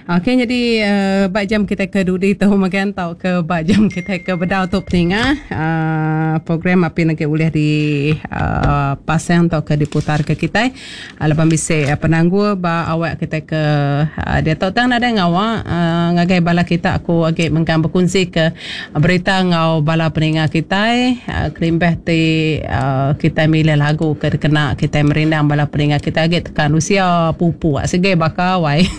Okey nyadi ba jam kitai ke dudi tu mega tauka ba jam kitai ke bedau tu peninga uhh program apin agi ulih di uhh pasang tauka diputar ke kitai laban bisi penanggul ba awak kitai ke diatu tang nadai ngawa uhh ngagai bala kita aku agi mengkang bekunsi ke berita enggau bala peninga kitai kelimpah ti uhh kitai milih lagu ke dikena kitai merindang bala peninga kitai agi tekan usia pupuk sigi baka wai.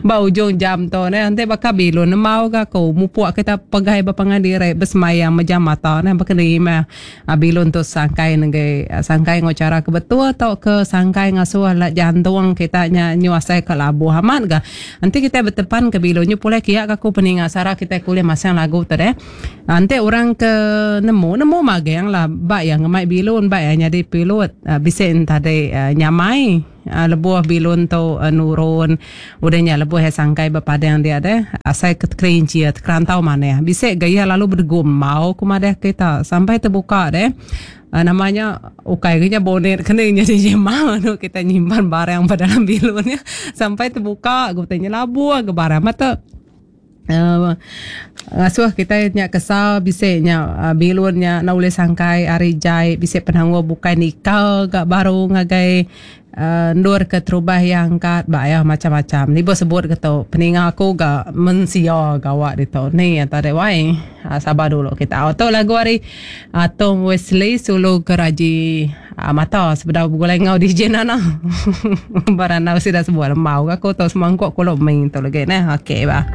Ba ujung jam tu neh enti baka bilun nembau ga aku mupuk kita pegai ba pangan diri besemayang mejam mata neh baka ni meh bilun tu sangkai nenggi sangkai enggau chara ke betul tauka sangkai ngasuh la jantung kita nya nyu asai ka labuh amat ga. Enti kitai betepan ke bilun nyu pulai kiya ka aku peninga sara kitai ke ulih masang lagu tu deh. Enti orang ke nemu nemu magang lah ba iya ngemai bilun ba iya nyadi pilot bisi enti nyamai. Lebuh bilun tu nurun udah nya lebuh iya sangkai ba padang dia deh asai ke tekerinchir tekerantau manah bisi ga iya lalu bedegum mau ku madah kita sampai tebuka deh nama nya ukai ga nya bonet ke ni nyadi jema anu kita nyimpan barang ba dalam bilun nya sampai tebuka ga utai nya labuh ga barang ba tu. Ngasuh kitai nya kesal bisi nya bilun nya enda ulih sangkai ari jai bisi penanggul bukai nikal ga baru ngagai endur ke terubah iya angkat ba iya macam macam ni ba sebut ke tu peninga aku ga mensia gawa ditu ni ata deh wai sabar dulu kita tu lagu ari Tom Wesley sulu geraji mata sebedau begulai enggau DJ Nana ba randau sida sebuah lembau ga aku tu semangkuk kulo ming tu lagi neh okey bah.